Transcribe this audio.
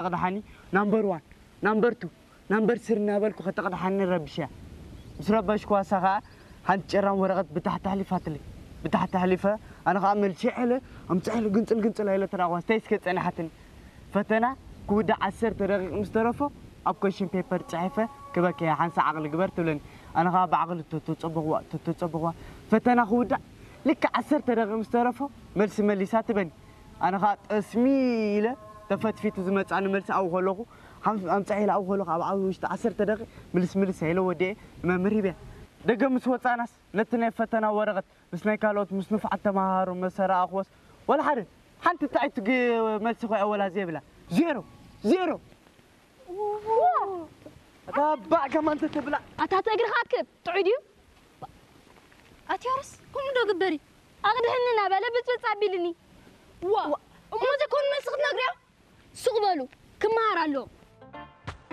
ተቕድሓኒ። ናምበር ዋን፣ ናምበር ቱ፣ ናምበር ስሪ እናበልኩ ከተቕድሓኒ ረቢሸያ። ምስ ረበሽኩዋ እሳ ኸዓ ሓንቲ ጭራም ወረቐት ብታሕቲ ኣሕሊፋትለይ። ብታሕቲ ኣሕሊፈ፣ ኣነ ኸዓ መልሲ ዐለ ኣምፅሐለ ግንፅል ግንፅል ኣይለ ተራእኹዋ። ስታይ እስከ ጸኒሓትኒ። ፈተና ክውዳእ ዓሰርተ ደቂቕ ምስ ተረፎ ኣብ ኮሽን ፔፐር ፅሒፈ ክበከያ ሓንሳ ዓቕሊ ግበር ትብለኒ። ኣነ ኸዓ ብዓቕሊ ተተፀበኽዋ ተተፀበኽዋ። ፈተና ክውዳእ ልክዕ ዓሰርተ ደቂቕ ምስ ተረፎ መልሲ መሊሳ ትበኒ። ኣነ ኸዓ ጠስሚ ኢለ ተፈትፊቱ ዝመፃኒ መልሲ ኣብኡ ከለኹ ሓም- ኣምፅሐ ኢለ ኣብኡ ከለኹ ኣብ ዓብዪ ውሽጢ ዓሰርተ ደቂቕ ምልስ ምልስ ኢለ ወዲኤ ንመምህር ሂበያ። ደገ ምስ ወፃናስ ነቲ ናይ ፈተና ወረቐት ምስ ናይ ካልኦት ምስ ንፉዓት ተመሃሮ መሰ ረኣኽዎስ ወላ ሓደ ሓንቲ ጥዕይቲ ግ- መልሲ ኮይኣ ወላ ዘይብላ። ዜሮ ዜሮ። ኣታ ባዕ ከማን ተተብላ። ኣታ ተእግርኻ ክብ ጥዑይ ድዩ? ኣትያርስ ከምኡ ዶ ግበሪ? ኣቕድሕኒ እናበለ ብፅብፅ ኣቢልኒ። ዋ እሞ ዘይኮኑ መልሲ ክትነግርዮ? ሱቕ በሉ ክመሃር ኣለዎ።